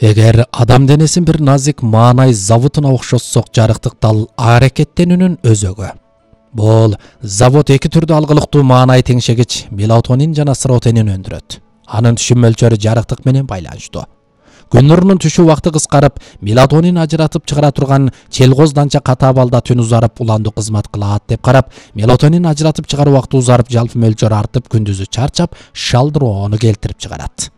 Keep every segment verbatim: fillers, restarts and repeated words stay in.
Эгер адам денесин бир назик маанай заводуна окшотсок, жарыктыктал аракеттенүүнүн өзөгү. Бул завод эки түрдүү алгылыктуу маанай теңшегич мелатонин жана серотонин өндүрөт. Анын түшүм мөлчөрү жарыктык менен байланыштуу. Күн нурунун түшүү убакыты кыскарып, мелатонин ажыратып чыгара турган челгоз данча ката абалда түн узарып, уландуу кызмат кылат деп карап, мелатонин ажыратып чыгаруу убакыты узарып, жалпы мөлчөрү артып, күндүзү чарчап, шалдыроону келтирип чыгарат.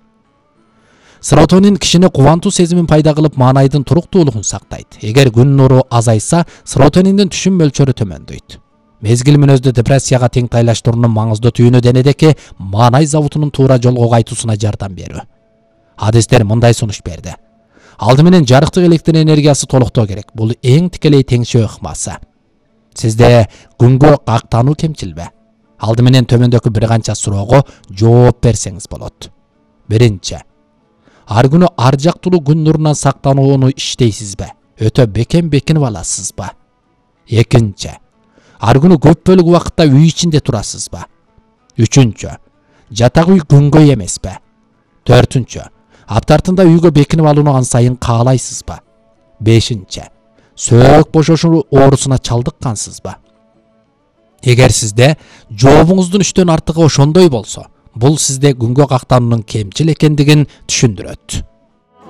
Серотонин кишини кубантуу сезимин пайда кылып, маанайдын туруктуулугун сактайт. Эгер күн нуру азайса, серотониндин түшүм мөлчөрү төмөндөйт. Мезгил мүнөздүү депрессияга тең тайлаштыруунун маңыздуу түйүнү денедеки маанай заводунун туура жолго кайтуусуна жардам берүү. Адистер мындай сунуш берди. Алды менен жарыктык электр энергиясы толуктоо керек. Бул эң тикелей теңшөө ыкмасы. Сизде күнгө кактануу кемчилби? Алды менен төмөндөгү бир канча суроого жооп берсеңиз болот. Биринчи. Ар күнү ар жактылуу күн нурунан сактанууну иштейсизби? Өтө бекем бекинип аласызбы? Экинчи. Ар күнү көп бөлүк убакытта үй ичинде турасызбы? Үчүнчү. Жатак үй күнгөй эмеспи? Төртүнчү. Аптартында үйгө бекинип алууну ан сайын каалайсызбы? Бешинчи. Сөөк бошошуу оорусуна чалдыккансызбы? Эгер сизде жообуңуздун үчтөн артыгы ошондой болсо, бул сизде күнгө кактануунун кемчил экендигин түшүндүрөт.